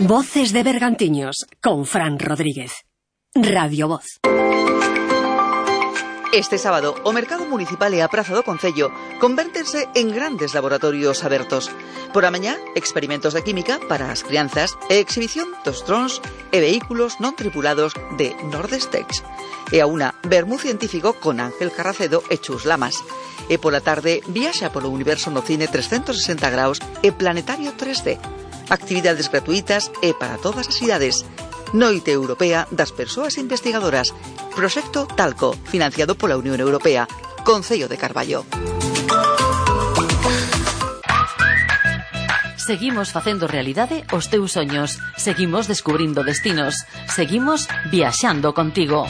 Voces de Bergantiños, con Fran Rodríguez. Radio Voz. Este sábado, o Mercado Municipal e a Praza do Concello convértense en grandes laboratorios abertos. Por a mañá, experimentos de química para as crianzas e exhibición dos drons e vehículos non tripulados de Nordestex. E a una, vermú científico con Ángel Carracedo e Chus Lamas. E pola tarde, viaxa polo universo no cine 360 graus e Planetario 3D. Actividades gratuitas e para todas as idades. Noite Europea das Persoas Investigadoras. Proxecto Talco, financiado pola Unión Europea. Concello de Carballo. Seguimos facendo realidade os teus soños. Seguimos descubrindo destinos. Seguimos viaxando contigo.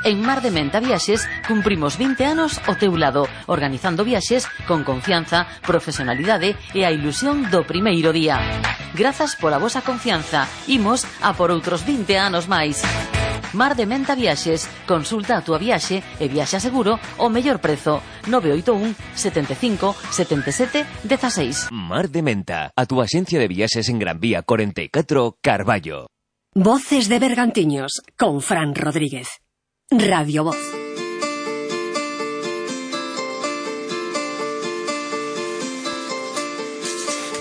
En Mar de Menta Viaxes cumprimos 20 anos ao teu lado, organizando viaxes con confianza, profesionalidade e a ilusión do primeiro día. Grazas pola vosa confianza. Imos a por outros 20 anos máis. Mar de Menta Viaxes. Consulta a túa viaxe e viaxa seguro ao mellor prezo. 981 75 77 16. Mar de Menta, a túa axencia de viaxes en Gran Vía 44, Carballo. Voces de Bergantiños, con Fran Rodríguez. Radio Voz.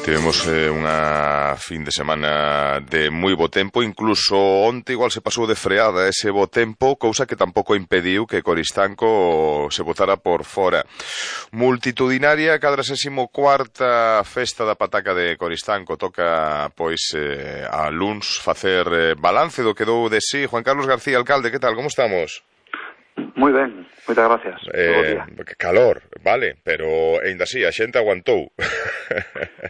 Tivemos unha fin de semana de moi bo tempo, incluso onte igual se pasou de freada ese bo tempo, cousa que tampouco impediu que Coristanco se botara por fora. Multitudinaria 44ª festa da pataca de Coristanco. Toca, pois, a luns facer balance do que dou de sí. Juan Carlos García, alcalde, que tal, como estamos? Moi ben, moitas gracias. Calor, vale, pero aínda así, a xente aguantou.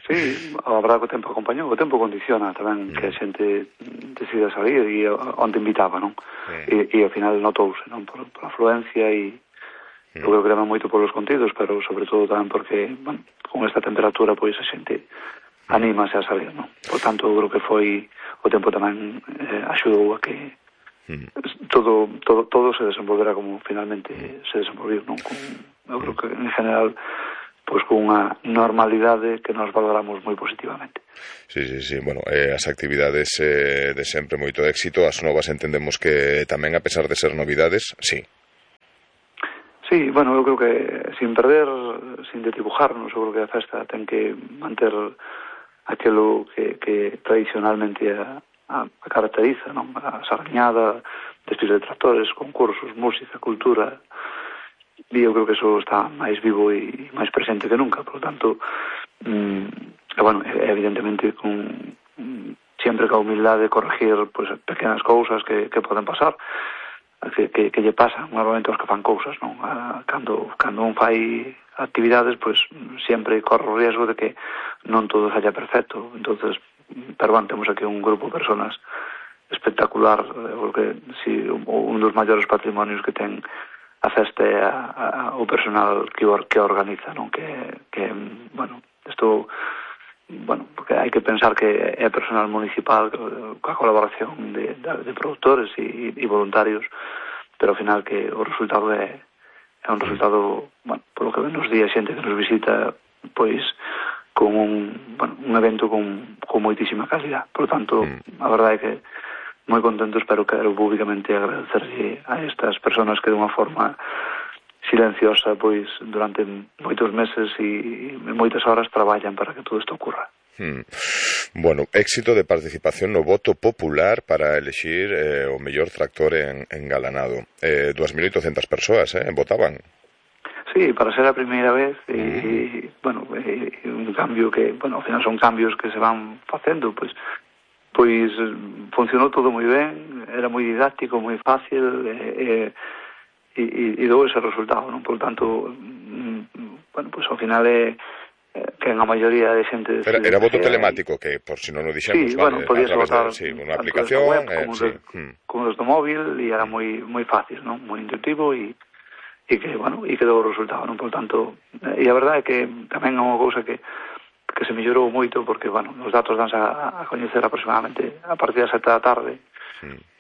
Sí, a verdade que o tempo acompañou, o tempo condiciona tamén que a xente decida salir e onde invitaba, non? E ao final notouse, non? Por afluencia e eu creo que tamén moito polos contidos, pero sobre todo tamén porque, bueno, con esta temperatura, pois a xente anímase a salir, non? Por tanto, eu creo que foi o tempo tamén axudou a que todo se desenvolverá como finalmente se desenvolviu, non? Eu creo que en general pois con unha normalidade que nos valoramos moi positivamente. Sí, bueno, as actividades de sempre moito éxito, as novas entendemos que tamén a pesar de ser novidades, sí. Sí, bueno, eu creo que sin desdibujarnos, eu creo que a festa ten que manter aquilo que tradicionalmente a caracteriza, non? A sargañada, desfiles de tractores, concursos, música, cultura, e eu creo que eso está máis vivo e máis presente que nunca. Por lo tanto, bueno, evidentemente sempre con a humildade de corregir pues, pequenas cousas que poden pasar, que lle pasan normalmente aos que fan cousas, non? Cando un fai actividades, pues sempre corre o riesgo de que non todo saia perfecto. Entonces, pero bueno, temos aquí un grupo de personas espectacular, porque si un dos maiores patrimonios que ten a festa é o personal que organiza, non? Que bueno, isto, bueno, porque hai que pensar que é personal municipal coa colaboración de produtores e voluntarios, pero ao final que o resultado é un resultado, bueno, polo que nos di a xente que nos visita, pois con un evento con moitísima calidad. Por tanto, a verdade é que moi contento, quero públicamente agradecerlle a estas persoas que de unha forma silenciosa, pois, durante moitos meses e moitas horas traballan para que todo isto ocurra. Bueno, éxito de participación no voto popular para elexir o mellor tractor en Galanado. 2.800 persoas votaban. Sí, para ser a primeira vez e, bueno, un cambio que, bueno, ao final son cambios que se van facendo, pois funcionou todo moi ben, era moi didáctico, moi fácil e dou ese resultado, non? Por tanto, bueno, pois ao final é que en a maioría de xente... Era voto telemático, que por si non o dixemos, sí, vale, bueno, podías votar unha aplicación, web, como desde o móvil, e era moi fácil, non? Moi intuitivo e que, bueno, e que dou o resultado, non? Por tanto, e a verdade é que tamén é unha cousa que se mellorou moito, porque, bueno, os datos danse a coñecer aproximadamente a partir das 7 da tarde,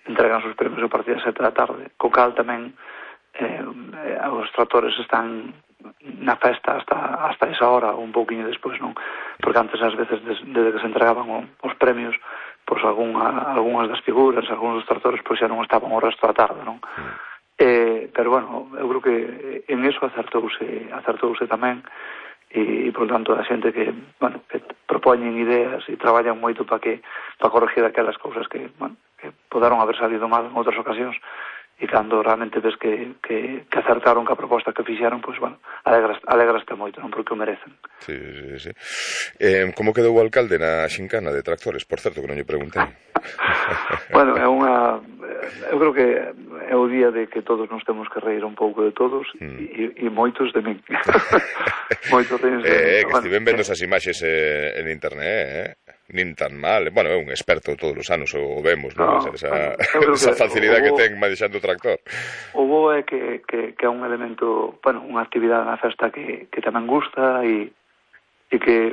entregan os premios a partir das 7 da tarde, co cal tamén os tractores están na festa hasta esa hora, un pouquiño despois, non? Porque antes, ás veces, desde que se entregaban os premios, pois algunhas das figuras, algúns dos tractores pois xa non estaban o resto da tarde, non? Pero bueno, eu creo que en eso acertouse tamén, e por tanto a xente que propoñen ideas e traballan moito para corregir aquelas cousas que poderon haber salido mal en outras ocasións, e cando realmente ves que acertaron ca proposta que fixeron, pois, alegraste moito, non, porque o merecen. Sí. Como quedou o alcalde na xincana de tractores? Por certo, que non lle preguntei. Bueno, eu creo que é o día de que todos nos temos que reír un pouco de todos, e moitos de min. Moitos de min. Que estiven vendo esas imaxes en internet, nin tan mal. Bueno, é un experto todos os anos, o vemos, non? Esa facilidade que ten manexando o tractor. O bo é que é un elemento, unha actividade na festa que tamén gusta, e que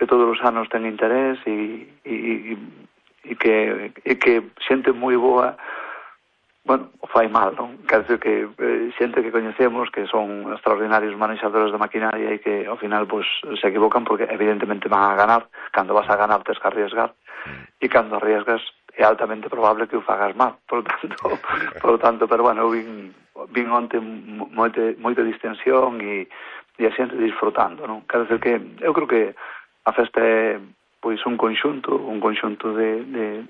todos os anos ten interés, e que xente moi boa o fai mal, non? Quer dizer que xente que coñecemos que son extraordinarios manexadores de maquinaria e que ao final pues se equivocan porque evidentemente van a ganar. Cando vas a ganar tens que arriesgar, e cando arriesgas é altamente probable que o fagas mal. Por tanto, pero eu vin onte moita distensión e a xente disfrutando, non? Quer dizer que eu creo que a festa é pois un conxunto de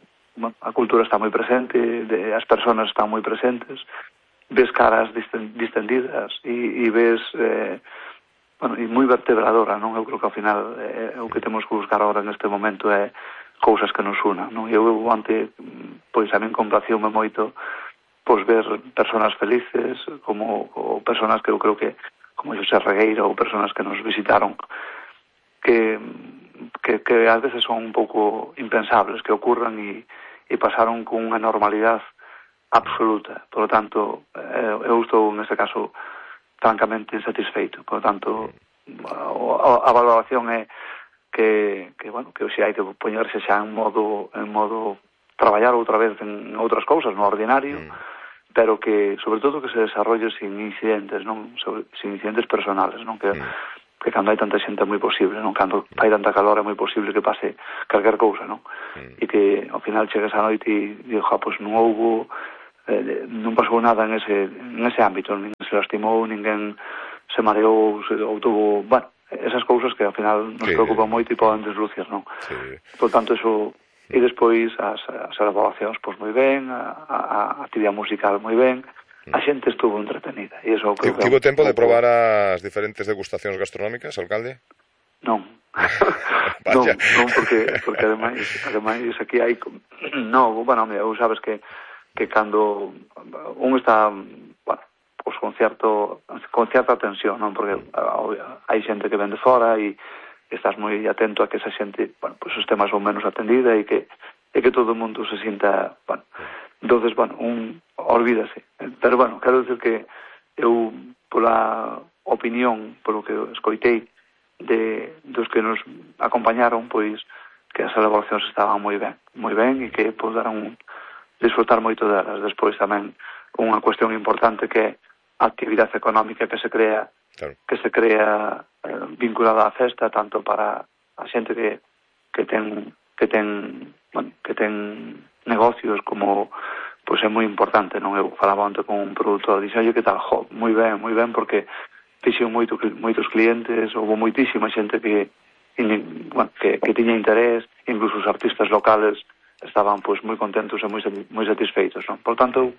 a cultura está moi presente, as persoas están moi presentes, ves caras distendidas e ves e moi vertebradora, non? Eu creo que ao final o que temos que buscar agora neste momento é cousas que nos unan, non? Eu ante pois a min complaciume moito pois ver persoas felices, ou persoas que eu creo que como Xosé Regueira, ou persoas que nos visitaron que ás veces son un pouco impensables que ocurran e pasaron con unha normalidade absoluta. Por lo tanto, eu estou neste caso francamente insatisfeito. Por lo tanto, a valoración é que se hai que poñerse xa en modo traballar outra vez en outras cousas, no ordinario, pero que, sobre todo, que se desarrolle sin incidentes, non? Sin incidentes personales, non? Que cando hai tanta xente é moi posible, non? Cando hai tanta calor é moi posible que pase calquer cousa, non? E que ao final chegues a noite e digo, pois non pasou nada en ese ámbito, ninguén se lastimou, ninguén se mareou ou tuvo, esas cousas que ao final nos preocupan moito e poden deslucir, non? Por tanto, eso, e despois as elaboracións pois moi ben, a actividade musical moi ben, a xente estuvo entretenida. Tivo tempo de probar as diferentes degustacións gastronómicas, alcalde? Non. non, porque ademais aquí hai sabes que cando un está pues con certa tensión, non? Porque hai xente que ven de fora e estás moi atento a que esa xente pues os temas son menos atendida e que todo o mundo se sinta entonces, olvídase. Pero, quero dicir que eu, pola opinión, polo que escoitei dos que nos acompañaron, pois, que as elaboracións estaban moi ben, e que poderon disfrutar moito delas. Despois tamén unha cuestión importante que é a actividade económica que se crea vinculada á festa, tanto para a xente que ten negocios como pois é moi importante, non? Eu falaba antes con un produtor, dixo, que tal, moi ben, porque fixen moitos clientes, houve moitísima xente que tiña interés, incluso os artistas locales estaban pois moi contentos e moi satisfeitos, non? Por tanto,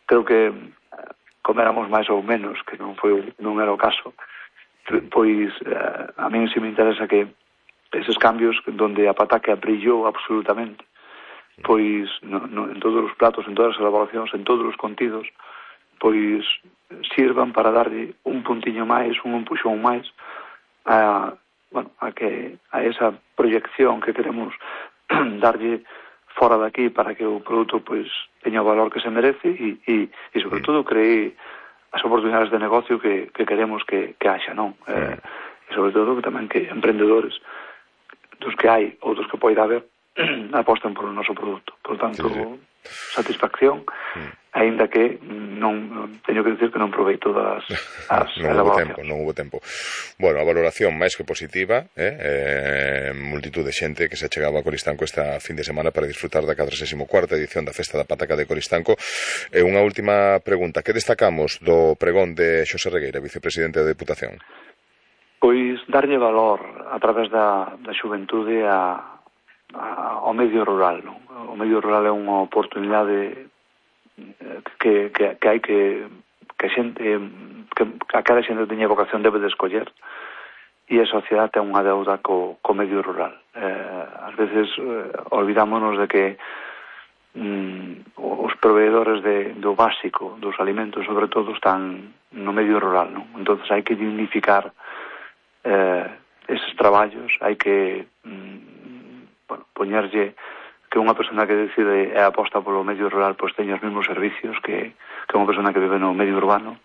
creo que coméramos máis ou menos, que non era o caso, pois a mí sí me interesa que eses cambios donde a pataca brillou absolutamente, pois en todos os platos, en todas as elaboracións, en todos os contidos, pois sirvan para darlle un puntiño máis, un empuxón máis a esa proyección que queremos darlle fora daqui para que o produto pois teña o valor que se merece e sobre todo cree as oportunidades de negocio que queremos que haxa, non? E sobre todo tamén que emprendedores dos que hai ou dos que poida haber apostan por o noso produto. Por tanto, satisfacción, aínda que non teño que decir que non provei todas as elaboracións. Non hubo tempo. Bueno, a valoración máis que positiva, multitud de xente que se achegaba a Coristanco esta fin de semana para disfrutar da 44ª edición da Festa da Pataca de Coristanco. E unha última pregunta, que destacamos do pregón de Xosé Regueira, vicepresidente da Deputación? Pois darlle valor a través da xuventude ao medio rural, non? O medio rural é unha oportunidade que hai que a cada xente teña vocación debe de escoller, e a sociedade ten unha deuda co medio rural. Ás veces olvidámonos de que os proveedores do básico dos alimentos, sobre todo, están no medio rural, non? Entonces hai que dignificar eses traballos, hai que poñerlle que unha persona que decide e aposta polo medio rural pois teña os mesmos servicios que unha persona que vive no medio urbano,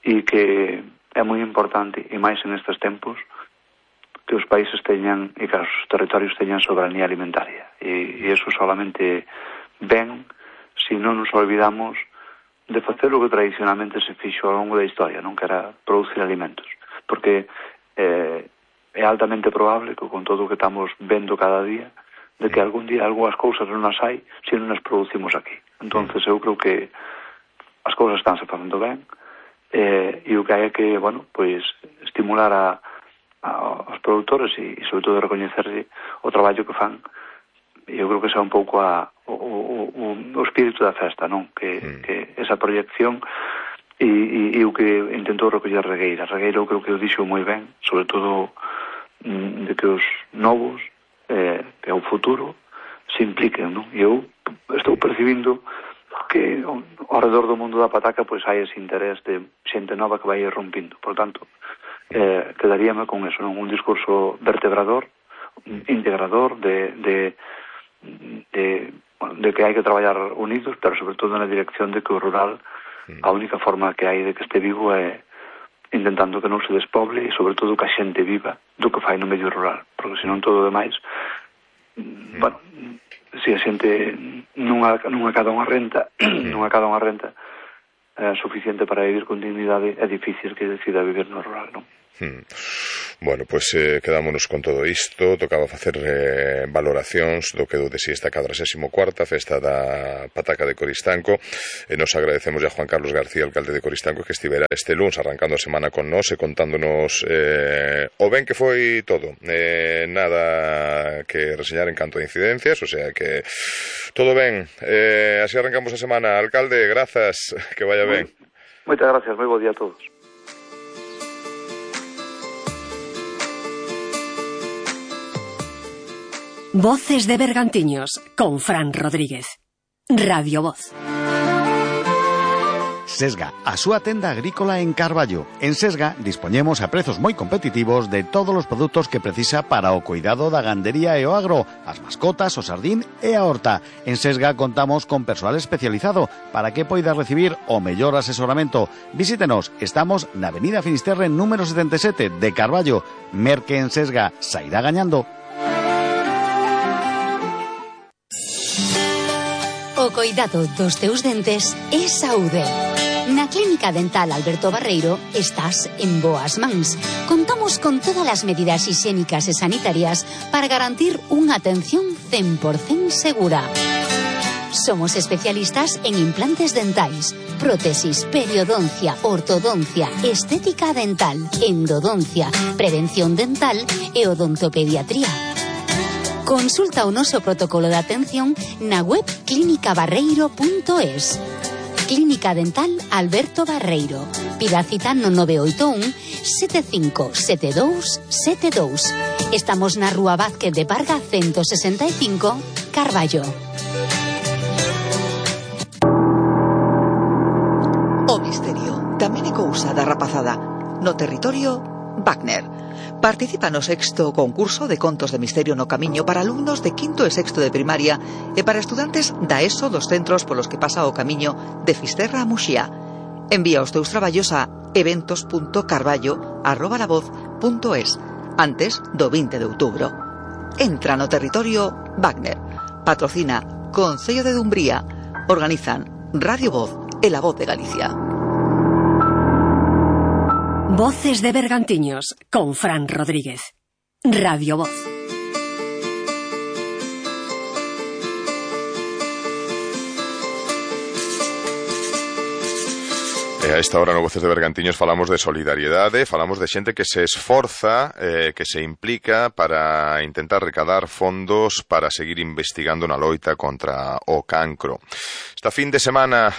e que é moi importante, e máis en estes tempos, que os países teñan e que os territorios teñan soberanía alimentaria, e eso solamente ven se non nos olvidamos de facer o que tradicionalmente se fixo ao longo da historia, non, que era producir alimentos, porque é altamente probable que con todo o que estamos vendo cada día, de que algún día algunhas cousas non as hai se non as producimos aquí. Entonces eu creo que as cousas estánse facendo ben, e o que hai é que, bueno, pois estimular aos produtores e sobre todo recoñecerlle o traballo que fan, e eu creo que esa é un pouco o espírito da festa, non? Que esa proyección e o que intentou recoller Regueira. Regueira eu creo que o dixo moi ben, sobre todo de que os novos que é o futuro se impliquen, non? E eu estou percibindo que ao redor do mundo da pataca pois hai ese interés de xente nova que vai rompindo. Por tanto, quedaríame con eso, non? Un discurso vertebrador, integrador de que hai que traballar unidos, pero sobre todo na dirección de que o rural, a única forma que hai de que este vivo é intentando que non se despoble e sobre todo que a xente viva do que fai no medio rural, porque senón todo o demais, bueno, se a xente non acada unha renta suficiente para vivir con dignidade, é difícil que decida vivir no rural, non? Bueno, pois quedámonos con todo isto. Tocaba facer valoracións do que do de si esta 44ª Festa da Pataca de Coristanco, e nos agradecemos a Juan Carlos García, alcalde de Coristanco, que estivera este luns arrancando a semana con nós e contándonos o ben que foi todo, nada que reseñar en canto de incidencias, o sea que todo ben. Así arrancamos a semana. Alcalde, grazas, que vaya ben. Moitas gracias, moi bo día a todos. Voces de Bergantiños con Fran Rodríguez. Radio Voz. Sesga, a súa tenda agrícola en Carballo. En Sesga dispoñemos a prezos moi competitivos de todos os produtos que precisa para o cuidado da gandería e o agro, as mascotas, o sardín e a horta. En Sesga contamos con persoal especializado para que poida recibir o mellor asesoramento. Visítenos, estamos na Avenida Finisterre número 77 de Carballo. Merque en Sesga, sairá gañando. O coidado dos teus dentes é saúde. Na Clínica Dental Alberto Barreiro estás en boas mans. Contamos con todas as medidas higiénicas e sanitarias para garantir unha atención 100% segura. Somos especialistas en implantes dentais, prótesis, periodoncia, ortodoncia, estética dental, endodoncia, prevención dental e odontopediatría. Consulta o noso protocolo de atención na web clinicabarreiro.es. Clínica Dental Alberto Barreiro. Pida cita no 981 757272. Estamos na Rúa Vázquez de Parga 165, Carballo. O misterio tamén é cousa da rapazada. No territorio Wagner. Participa no 6º concurso de contos de misterio no camiño para alumnos de 5º e 6º de primaria e para estudantes da ESO dos centros polos que pasa o camiño de Fisterra a Muxía. Envía os teus traballos a eventos.carballo@lavoz.es antes do 20 de outubro. Entra no territorio Wagner. Patrocina Concello de Dumbría, Organizan Radio Voz e La Voz de Galicia. Voces de Bergantiños con Fran Rodríguez. Radio Voz. A esta hora no Voces de Bergantiños falamos de solidariedade, falamos de xente que se esforza, que se implica para intentar recadar fondos para seguir investigando na loita contra o cancro. Esta fin de semana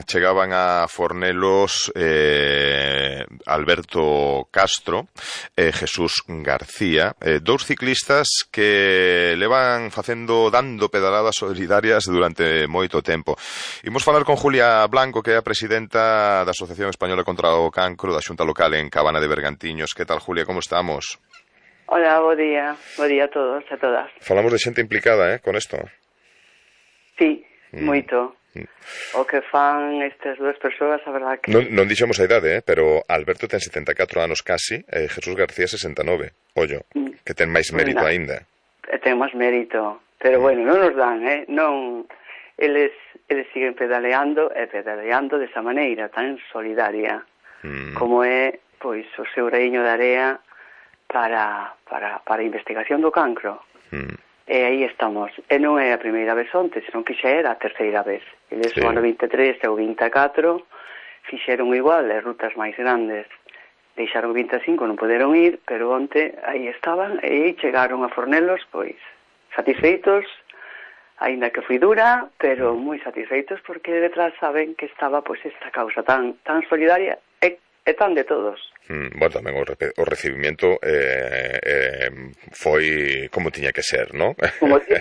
chegaban a Fornelos Alberto Castro e Jesús García, dous ciclistas que levan dando pedaladas solidarias durante moito tempo. Imos falar con Julia Blanco, que é a presidenta da Asociación Española contra o Cancro da Xunta Local en Cabana de Bergantiños. Que tal, Julia, como estamos? Hola, bo día a todos, a todas. Falamos de xente implicada, con isto? Sí, moito. O que fan estas dúas persoas, a verdad que... Non dixemos a idade, pero Alberto ten 74 anos casi e Jesús García 69. Ollo, que ten máis mérito aínda. Ten máis mérito, pero bueno, non nos dan, non... Eles siguen pedaleando desa maneira tan solidaria como é, pois, o seu reino de area para a investigación do cancro. E aí estamos. E non é a primeira vez onte, senón que xa era a terceira vez. Eles o ano 23 e o 24 fixeron igual, as rutas máis grandes. Deixaron o 25, non poderon ir, pero onte aí estaban e chegaron a Fornelos, pois, satisfeitos, aínda que foi dura, pero moi satisfeitos porque detrás saben que estaba pois esta causa tan solidaria e tan de todos. Bueno, tamén o recibimiento foi como tiña que ser, non?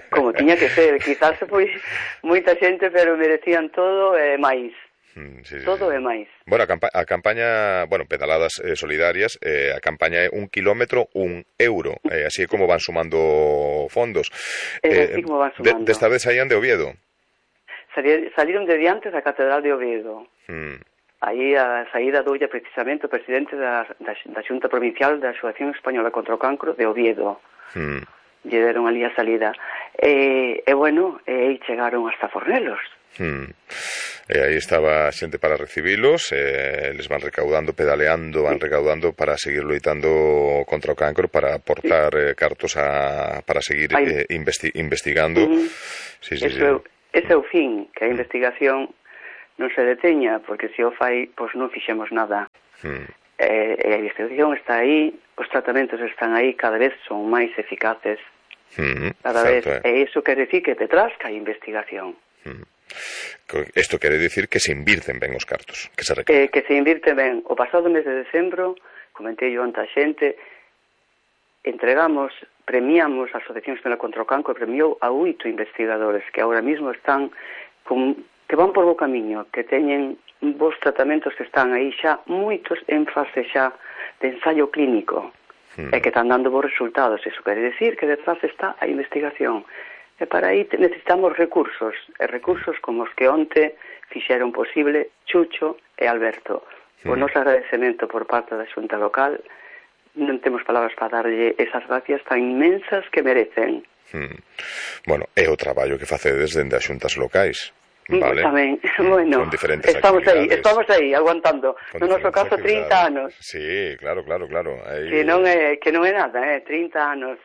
Como tiña que ser, quizás foi moita xente, pero merecían todo e máis. Todo é máis. Bueno, a campaña, pedaladas solidarias, a campaña é 1 kilómetro, 1 euro, así é como van sumando fondos. Así como van sumando. Desta vez saían de Oviedo. Saliron de diante da Catedral de Oviedo. Aí a saída doulla precisamente o presidente da Xunta Provincial da Asociación Española contra o Cancro de Oviedo. Lle deron ali a salida. E bueno, aí chegaron hasta Fornelos. E aí estaba a xente para recibilos, les van recaudando, pedaleando, van recaudando para seguir loitando contra o cancro, para aportar cartos para seguir investigando. Ese é o fin, que a investigación non se deteña, porque se o fai, pois non fixemos nada. A investigación está aí, os tratamentos están aí, cada vez son máis eficaces, cada vez, e iso quere dicir que detrás que hai investigación. Isto quere dicir que se invirten ben os cartos, que se recaudan. Que se invirten ben. O pasado mes de decembro, comentei yo ante a xente, premiamos a Asociación Española contra o Cancro, premiou a 8 investigadores que agora mesmo están que van por bo camiño, que teñen bons tratamentos, que están aí xa moitos en fase xa de ensaio clínico e que están dando bons resultados. Iso quere dicir que detrás está a investigación. E para aí necesitamos recursos, e recursos como os que onte fixeron posible Chucho e Alberto. O noso agradecemento por parte da Xunta Local, non temos palabras para darlle esas gracias tan inmensas que merecen. Bueno, é o traballo que facedes dende as xuntas locais. Vale. Tamén, bueno, estamos aí, aguantando. No noso caso, 30 anos. Sí, claro. Aí... Que non é nada, 30 anos.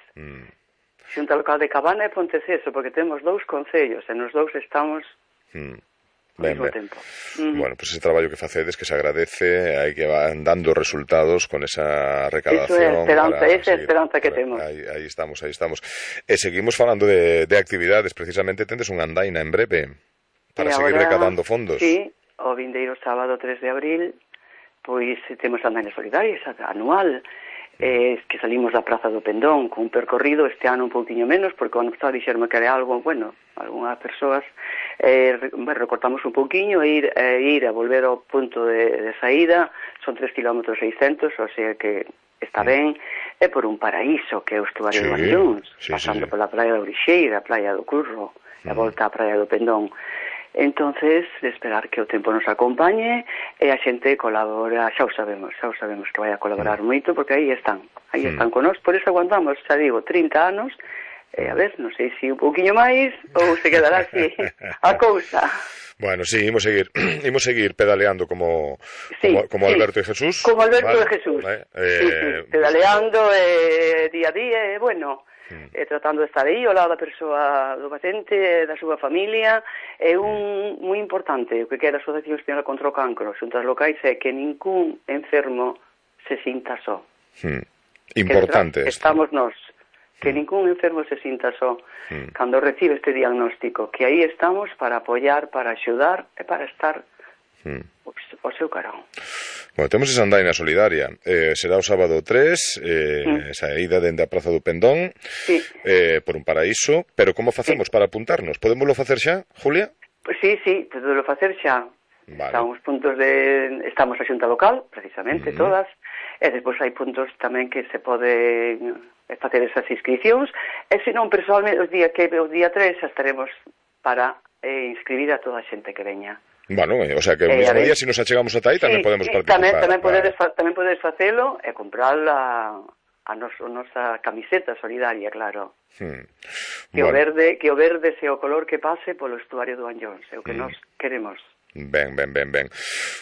Xunta Local de Cabana e Ponteceso, porque temos 2 concellos e nos 2 estamos ao mesmo tempo. Bueno, pues ese traballo que facedes, que se agradece, hai que van dando resultados con esa recaudación. Esa é a esperanza que temos. Aí estamos. E seguimos falando de actividades, precisamente tendes unha andaina en breve para seguir recaudando fondos. Sí, o vindeiro sábado 3 de abril, pois temos andaina solidaria anual, que salimos da Praza do Pendón con un percorrido, este ano un pouquinho menos, porque o ano pasado dixerme que era algo, bueno, algunhas persoas recortamos un pouquinho e ir a volver ao punto de saída, son 3 km 600, o sea que está ben, é por un paraíso que é o estuario de Valllóns, pasando pola praia da Orixeira, a praia do Curro, e a volta á praia do Pendón. Entonces, de esperar que o tempo nos acompañe e a xente colabora, xa o sabemos que vai a colaborar moito, porque aí están con nós, por eso aguantamos, xa digo, 30 anos, A ver, non sei se un pouquiño máis ou se quedará así a cousa. Bueno, sí, imos seguir pedaleando como Alberto e Jesús. Como Alberto e Jesús. Vale. Pedaleando día a día, bueno, tratando de estar aí ao lado da persoa, do paciente, da súa familia. É un moi importante o que queda a Asociación Española contra o Cancro, xuntas locais, é que ningún enfermo se sinta só. Importante. Estamos nós. Que ningún enfermo se sinta só cando recibe este diagnóstico, que aí estamos para apoiar, para axudar e para estar ao seu carón. Bueno, temos esa andaina solidaria, será o sábado 3, esa ida dende a Praza do Pendón, por un paraíso, pero como facemos para apuntarnos? Podémoslo facer xa, Julia? Pues sí, podémoslo facer xa. Vale. Estamos a xunta local, precisamente, todas, e despois hai puntos tamén que se pode facer esas inscripcións, e senón, personalmente, o día 3 xa estaremos para inscribir a toda a xente que veña. Bueno, o sea que o mismo día, se nos achegamos ata aí, tamén podemos participar. Tamén podedes facelo e comprar a nosa camiseta solidaria, claro. Que o verde sea o color que pase polo estuario do Anllóns, é o que nós queremos. Ben.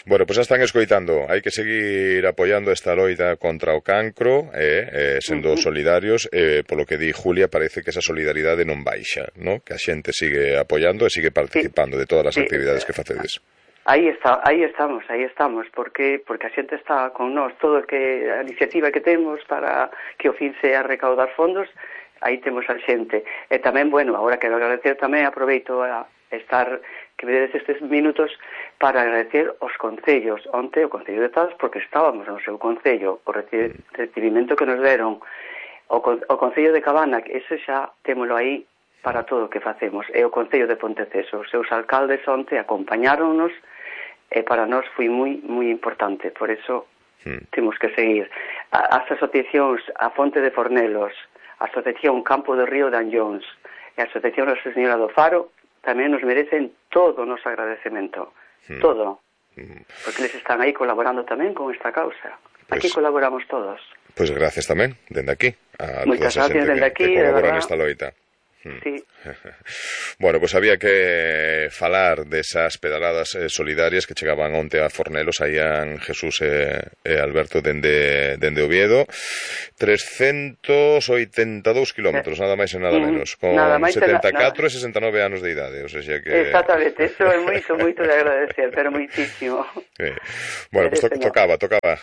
Bueno, pois están escoitando. Hai que seguir apoiando esta loita contra o cancro, sendo solidarios. Polo que di Julia, parece que esa solidaridade non baixa, ¿no? Que a xente sigue apoiando e sigue participando de todas as actividades que facedes. Aí estamos, porque a xente está con nós, todo a iniciativa que temos para que o fin sea recaudar fondos, aí temos a xente. E tamén, bueno, agora quero agradecer tamén, aproveito a estar, que me dedes estes minutos para agradecer os concellos. Onte o Concello de Taz, porque estábamos no seu concello, o recibimento que nos deron, o Concello de Cabana, que ese xa témolo aí para todo o que facemos, e o Concello de Ponteceso, os seus alcaldes onte acompañáronnos, e para nós foi moi, moi importante, por eso temos que seguir. As asociacións, a Fonte de Fornelos, a Asociación Campo do Río de Anllóns, e a Asociación Nosa Señora do Faro, tamén nos merecen todo o noso agradecemento, todo, porque eles están aí colaborando tamén con esta causa. Aquí colaboramos todos. Pois gracias tamén, dende aquí, a moitas toda esa xente que colabora nesta loita. Sí. Bueno, pues había que falar desas pedaladas solidarias que chegaban onte a Fornelos, saían Jesús e Alberto dende Oviedo, 382 kilómetros, nada máis e nada menos, con 74 e 69 anos de idade, o sea que... Exactamente, eso é moito de agradecer, pero moitísimo. Bueno, pues tocaba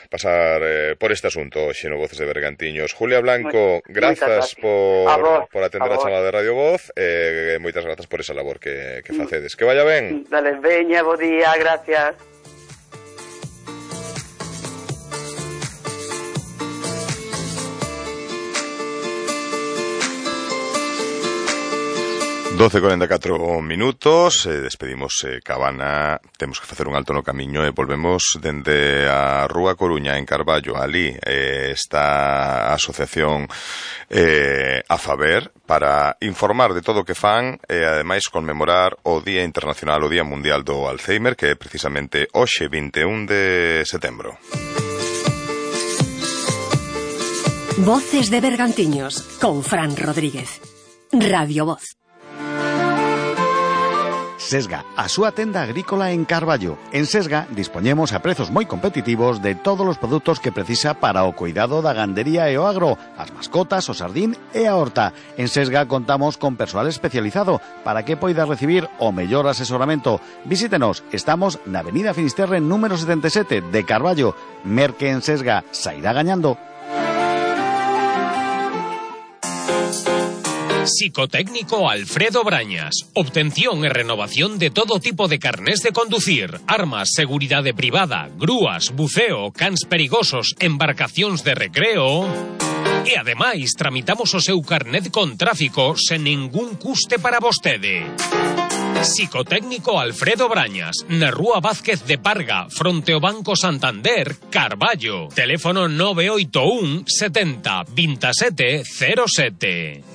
pasar por este asunto hoxe no Voces de Bergantiños. Julia Blanco, grazas por atender a chamada de Radio Voz, moitas grazas por esa labor que facedes. Que vaya ben. Dale, veña, bo día, gracias. Doce 44 minutos, despedimos Cabana, temos que facer un alto no camiño e volvemos dende a Rúa Coruña en Carballo. Ali está a asociación AFABER para informar de todo o que fan e ademais conmemorar o Día Internacional, o Día Mundial do Alzheimer, que é precisamente hoxe 21 de setembro. Voces de Bergantiños con Fran Rodríguez. Radio Voz. Sesga, a súa tenda agrícola en Carballo. En Sesga dispoñemos a prezos moi competitivos de todos os produtos que precisa para o cuidado da gandería e o agro, as mascotas, o sardín e a horta. En Sesga contamos con persoal especializado para que poida recibir o mellor asesoramento. Visítenos, estamos na Avenida Finisterre número 77 de Carballo. Merque en Sesga, sairá gañando. Psicotécnico Alfredo Brañas. Obtención e renovación de todo tipo de carnés de conducir, armas, seguridade privada, grúas, buceo, cans perigosos, embarcacións de recreo. E ademais tramitamos o seu carnet con tráfico sen ningún custe para vostede. Psicotécnico Alfredo Brañas, na Rúa Vázquez de Parga, fronte ao Banco Santander, Carballo. Teléfono 981 70 27 07.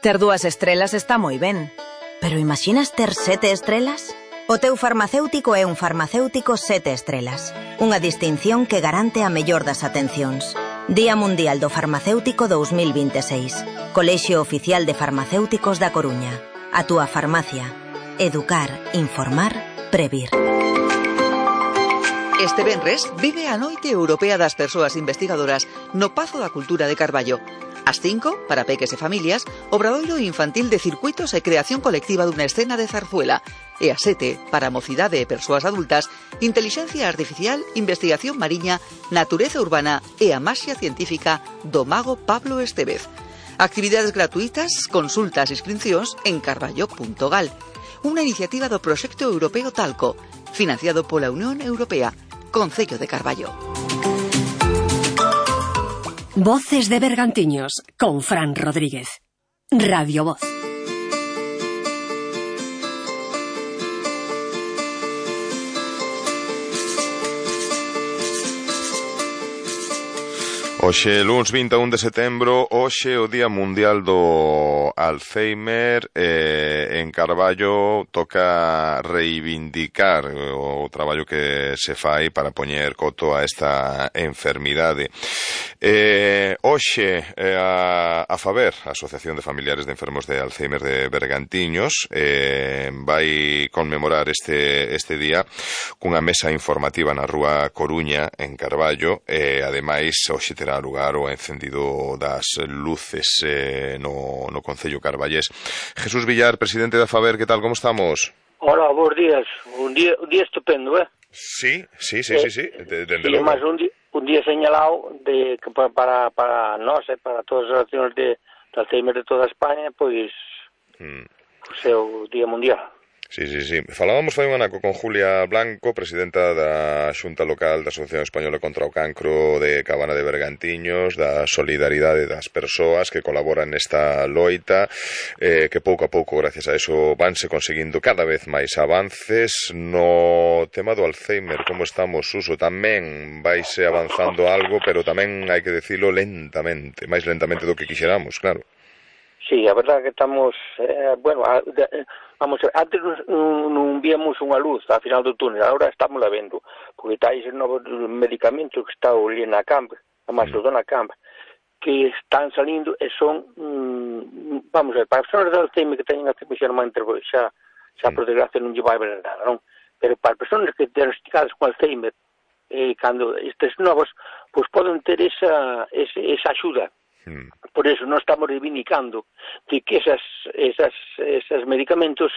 Ter 2 estrelas está moi ben, pero imaginas ter 7 estrelas? O teu farmacéutico é un farmacéutico 7 estrelas, unha distinción que garante a mellor das atencións. Día Mundial do Farmacéutico 2026. Colexio Oficial de Farmacéuticos da Coruña. A túa farmacia. Educar, informar, previr. Este venres vive a Noite Europea das Persoas Investigadoras no Pazo da Cultura de Carballo. Ás 5, para peques e familias, obradoiro infantil de circuitos e creación colectiva dunha escena de zarzuela. E ás 7, para mocidade e persoas adultas, intelixencia artificial, investigación mariña, natureza urbana e a maxia científica do mago Pablo Estevez. Actividades gratuitas, consultas e inscripcións en carballo.gal. Unha iniciativa do Proxecto Europeo Talco, financiado pola Unión Europea, Concello de Carballo. Voces de Bergantiños, con Fran Rodríguez. Radio Voz. Hoxe, luns 21 de setembro, hoxe o Día Mundial do Alzheimer. En Carballo toca reivindicar o traballo que se fai para poñer coto a esta enfermidade. Hoxe, a FABER, a Asociación de Familiares de Enfermos de Alzheimer de Bergantiños, vai conmemorar este día cunha mesa informativa na Rúa Coruña, en Carballo, e ademais hoxe terá lugar o encendido das luces no Concello Carballés. Jesús Villar, presidente da FABER, que tal, como estamos? Hola, bons días. Un día estupendo, Sí, dende logo. Mas un día señalado de que para nós, para todas as accións de Alzheimer de toda España, pois é o Día Mundial. Sí. Falábamos fai un anaco con Julia Blanco, presidenta da Xunta Local da Asociación Española contra o Cancro de Cabana de Bergantiños, da solidaridade das persoas que colaboran nesta loita, que pouco a pouco, gracias a eso, vanse conseguindo cada vez máis avances. No tema do Alzheimer, como estamos, Suso? Tamén vaise avanzando algo, pero tamén hai que decirlo lentamente, máis lentamente do que quixeramos, claro. Sí, a verdade que estamos, vamos a ver, antes non víamos unha luz ao final do túnel, agora estamos la vendo, porque está ese novo medicamento que está ali na CAMP, a Macedona CAMP, que están salindo e son, vamos a ver, para as persoas de Alzheimer que teñen Alzheimer xa por desgracia non lle vai ver nada, non? Pero para as persoas que diagnosticadas con Alzheimer, cando estes novos, pois poden ter esa axuda. Por eso non estamos reivindicando de que esas medicamentos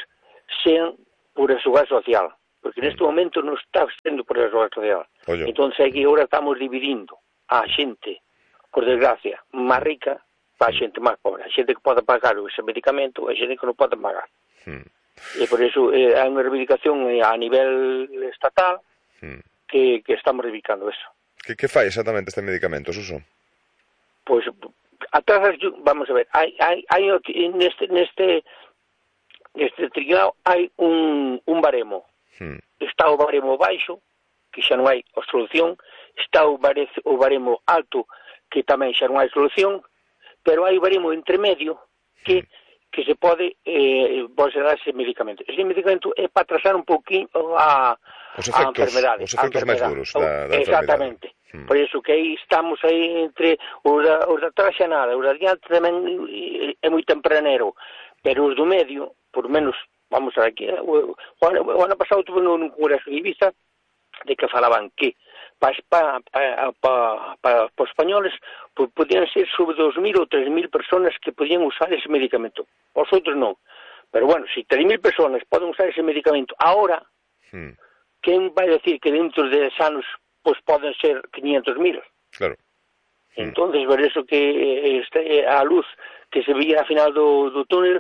sean por a seguridade social, porque neste momento non está sendo por a seguridade social. Entón é que agora estamos dividindo a xente, por desgracia, máis rica para a xente máis pobre, a xente que pode pagar ese medicamento e a xente que non pode pagar. E por eso hai unha reivindicación a nivel estatal que estamos reivindicando eso. Que fai exactamente este medicamento, Suso? Pois atrás, vamos a ver, hai neste trinado hai un baremo. Está o baremo baixo, que xa non hai solución, está o baremo alto, que tamén xa non hai solución, pero hai o baremo intermedio que se pode dar ese medicamento. Ese medicamento é para atrasar un pouquinho a enfermedade. Os efectos máis duros da enfermedade. Exactamente. Por iso que aí estamos aí entre os de atrás xa nada, os de adiante tamén é moi tempranero, pero os do medio, por menos, vamos a ver aquí, o ano pasado tuve nun congreso de Ibiza de que falaban que para os españoles podían ser sobre 2.000 ou 3.000 personas que podían usar ese medicamento, os outros non. Pero bueno, se 3.000 personas poden usar ese medicamento ahora, quen vai decir que dentro de 10 anos pois poden ser 500.000. Claro. Entonces, por eso que a luz que se veía ao final do túnel,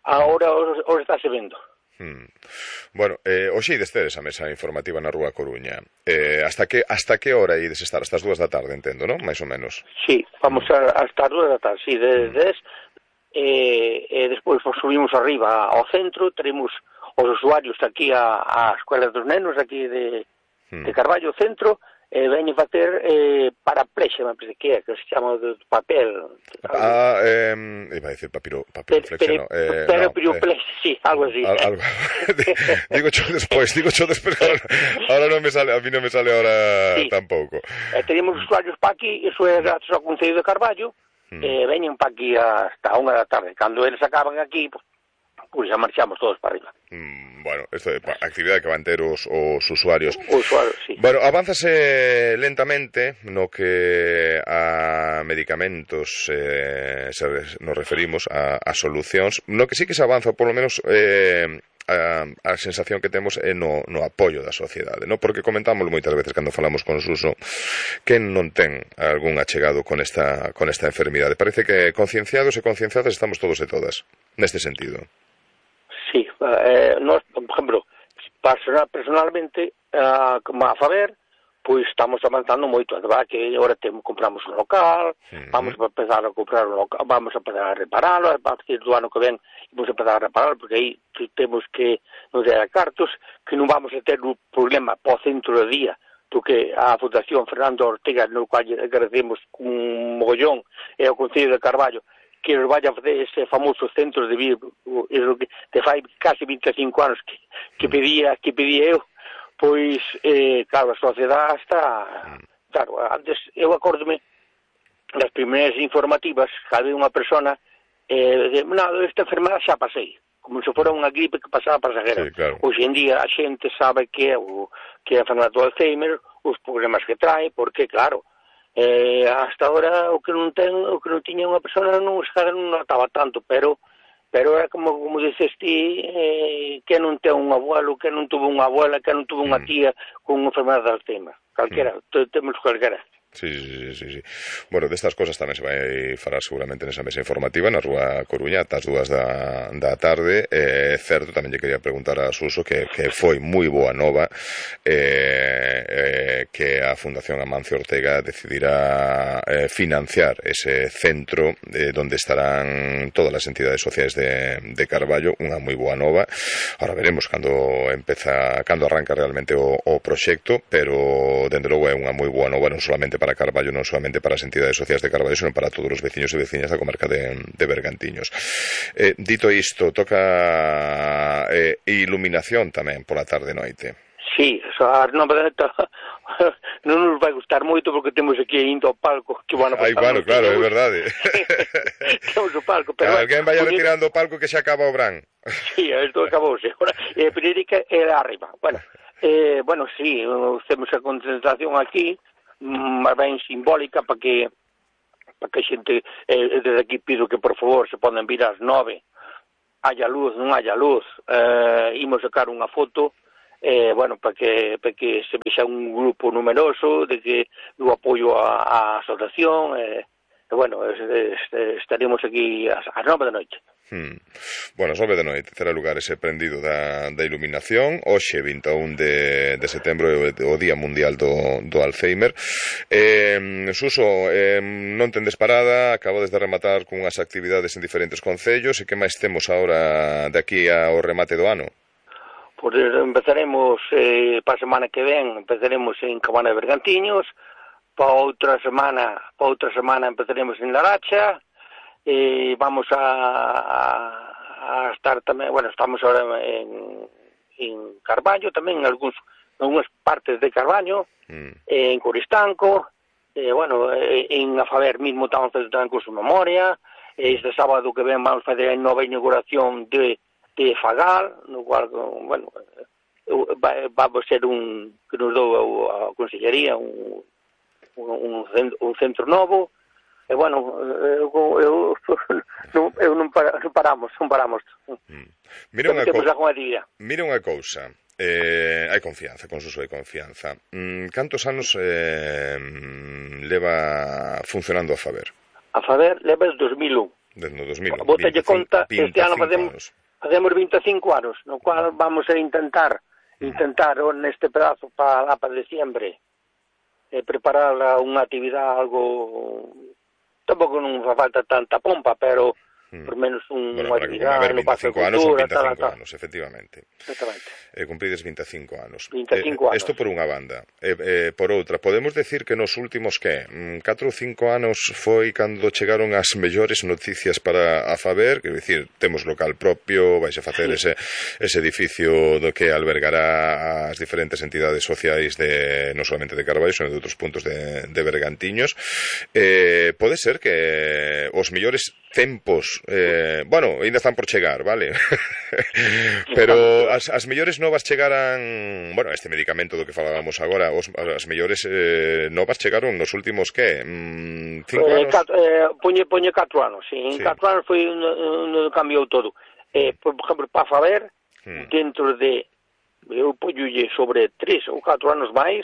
ahora está se vendo. Bueno, hoxe ides ter esa mesa informativa na Rúa Coruña. Hasta que hora ides estar? Hasta as 2 da tarde, entendo, non? Mais ou menos. Sí, vamos hasta as 2 da tarde, sí, de 10. Despois subimos arriba ao centro, teremos os usuarios aquí a Escuela dos Nenos, aquí de Carballo Centro, veñen facer paraplexa, me parece que se chama de papel. Iba a decir papiroflexia, no. Papiroflexia, sí, algo así. Digo yo despois, ahora non me sale, a mí non me sale ahora tampouco. Teníamos usuarios pa aquí, iso é gracias ao Concello de Carballo, veñen pa aquí hasta 1 da tarde. Cando eles acaban aquí, pois xa marchamos todos para arriba. Bueno, isto é actividade que van ter os usuarios. Sí. Bueno, avánzase lentamente no que a medicamentos nos referimos, a solucións, no que sí que se avanza, polo menos a sensación que temos é no apoio da sociedade, no? Porque comentámoslo moitas veces cando falamos con Suso que non ten algún achegado con esta enfermidade. Parece que concienciados e concienciadas estamos todos e todas neste sentido. Sí, nós, por exemplo, personalmente, como a Faber, pois estamos avanzando moito, a verdade que agora compramos un local, vamos a empezar a comprar un local, vamos a empezar a reparalo, a partir do ano que ven vamos a empezar a reparalo, porque aí temos que nos dar cartos, que non vamos a ter un problema po centro de día, porque a Fundación Fernando Ortega, no cual agradecemos un mogollón, e o Concello de Carballo, que nos vaya a fazer ese famoso centro de vida, que fai casi 25 anos que pedía eu, pois, claro, a sociedade está... Claro, antes, eu acórdome das primeiras informativas, que había unha persona, esta enfermedade xa pasei, como se fora unha gripe que pasaba pasajeira. Sí, claro. Hoxe en día a xente sabe que é a enfermedade do Alzheimer, os problemas que trae, porque, claro, hasta ahora o que non tiña unha persona non notaba tanto, pero era como dices ti, que non ten un abuelo, que non tuvo unha abuela, que non tuvo unha tía con unha enfermedade de Alzheimer, calquera, temos calquera. Sí. Bueno, destas cosas tamén se vai falar seguramente nesa mesa informativa na Rúa Coruña ata as 2 da tarde. Certo, tamén lle quería preguntar a Suso que foi moi boa nova que a Fundación Amancio Ortega decidirá financiar ese centro donde estarán todas as entidades sociais de Carballo, unha moi boa nova. Ahora veremos cando arranca realmente o proxecto, pero dende logo é unha moi boa nova non solamente para Carballo, non solamente para as entidades sociais de Carballo, senón para todos os veciños e veciñas da comarca de Bergantiños. Dito isto, toca iluminación tamén pola tarde e noite. Sí, non nos vai gustar moito porque temos aquí indo ao palco que van a claro, é verdade. Temos o palco, pero alguén vai retirando o palco que xa acaba o Bran. Sí, isto acabouse. Pereirica era arriba. Bueno, sí, temos a concentración aquí, ben simbólica para que a xente desde aquí pido que por favor se poden vir ás 9, haya luz, non haya luz, imos sacar unha foto para que se vexa un grupo numeroso do apoio á asociación, estaremos aquí ás 9 da noite. Bueno, as 9 da noite terá lugar ese prendido da iluminación. Hoxe, 21 de setembro, o Día Mundial do Alzheimer. Suso, non tendes parada, acabades de rematar cunhas actividades en diferentes concellos, e que máis temos agora de aquí ao remate do ano? Pois empezaremos para a semana que ven, empezaremos en Cabana de Bergantiños, para outra semana empezaremos en Laracha, vamos a estar tamén, estamos ahora en Carballo, tamén en algunhas partes de Carballo, en Coristanco, en Afaber mismo estamos tamén con su memoria, este sábado que ven vamos a fazer a nova inauguración de Fagal, no cual, va a ser que nos dou a Consellería un centro novo. Non paramos. Mira unha cousa, hai confianza, con Suso hai confianza. Cantos anos leva funcionando a Faber? A Faber leva desde 2001. Desde 2001. Bótalle conta, este ano facemos 25 anos, no cual vamos a intentar neste pedazo para diciembre preparar unha actividade algo... Tampouco non fa falta tanta pompa, pero por menos unha actividade no Pazo de Cultura, 25 anos, efectivamente. Exactamente. Cumprides 25 anos. 25 anos. Isto por unha banda. Por outra, podemos decir que nos últimos, 4 ou 5 anos foi cando chegaron as mellores noticias para a Faber, quero dicir, temos local propio, vais a facer ese edificio do que albergará as diferentes entidades sociais non solamente de Carballo, sino de outros puntos de Bergantiños. Pode ser que os mellores tempos, ainda están por chegar, vale? Pero as mellores novas chegaran, este medicamento do que falábamos agora, as mellores novas chegaron nos últimos, 5 anos? Poñe 4 anos, sí. En 4 anos foi onde cambiou todo. Por exemplo, para Faber, dentro de, eu poñolle sobre 3 ou 4 anos máis,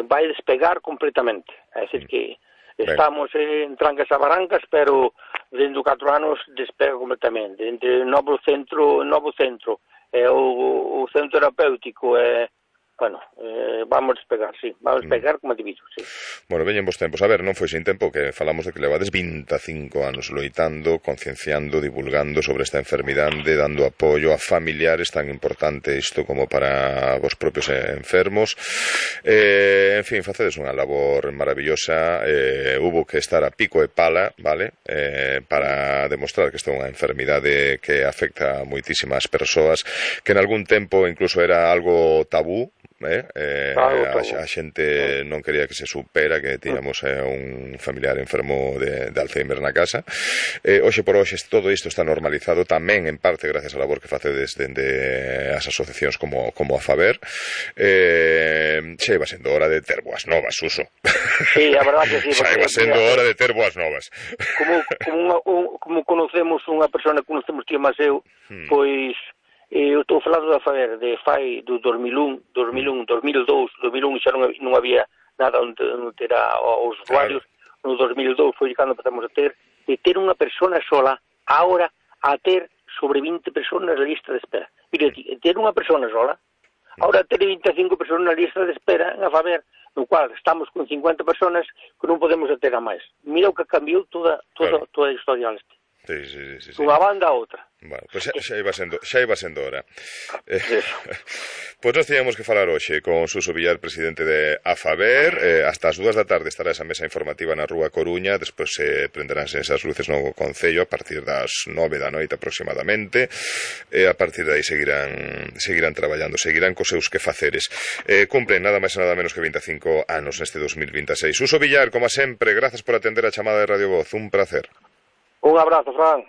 vai despegar completamente. É dicir que estamos en trancas a barancas, pero dentro de 4 anos despega completamente. Entre novo centro e o centro terapéutico vamos despegar, sí. Vamos despegar como diviso, sí. Bueno, veñen vos tempos. A ver, non foi sin tempo que falamos de que levades 25 anos loitando, concienciando, divulgando sobre esta enfermidade, dando apoio a familiares, tan importante isto como para vos propios enfermos. En fin, facedes unha labor maravillosa. Hubo que estar a pico e pala, vale? Para demostrar que esta é unha enfermidade que afecta a moitísimas persoas, que en algún tempo incluso era algo tabú, a xente non quería que se supera que tiñamos un familiar enfermo de Alzheimer na casa. Hoxe por hoxe todo isto está normalizado tamén en parte gracias á labor que facedes dende as asociacións como a Faber. Xa iba sendo hora de ter boas novas, Suso. Sí, a verdad que sí. Xa iba sendo hora de ter boas novas. Como conocemos unha persona que conocemos ti e Maseu, pois eu estou falando da Faber de fai do 2001, 2002 xa non había nada onde ter os usuarios. No 2002 foi cando empezamos a ter, de ter unha persona sola, agora a ter sobre 20 personas na lista de espera. Mira, ter unha persona sola, agora ter 25 personas na lista de espera en a Faber, no cual estamos con 50 personas que non podemos ter a máis. Mira o que cambiou toda a historia este. Sí. Unha banda a outra. Bueno, pois xa iba sendo hora. Pois nós teníamos que falar hoxe con Suso Villar, presidente de AFABER. Hasta as 2 da tarde estará esa mesa informativa na Rúa Coruña, despois se prenderánse esas luces no Concello a partir das 9 da noite aproximadamente, e a partir de aí seguirán traballando, seguirán cos seus quefaceres. Cumplen nada máis e nada menos que 25 anos neste 2026. Suso Villar, como sempre, grazas por atender a chamada de Radio Voz, un placer. Un abrazo, Fran.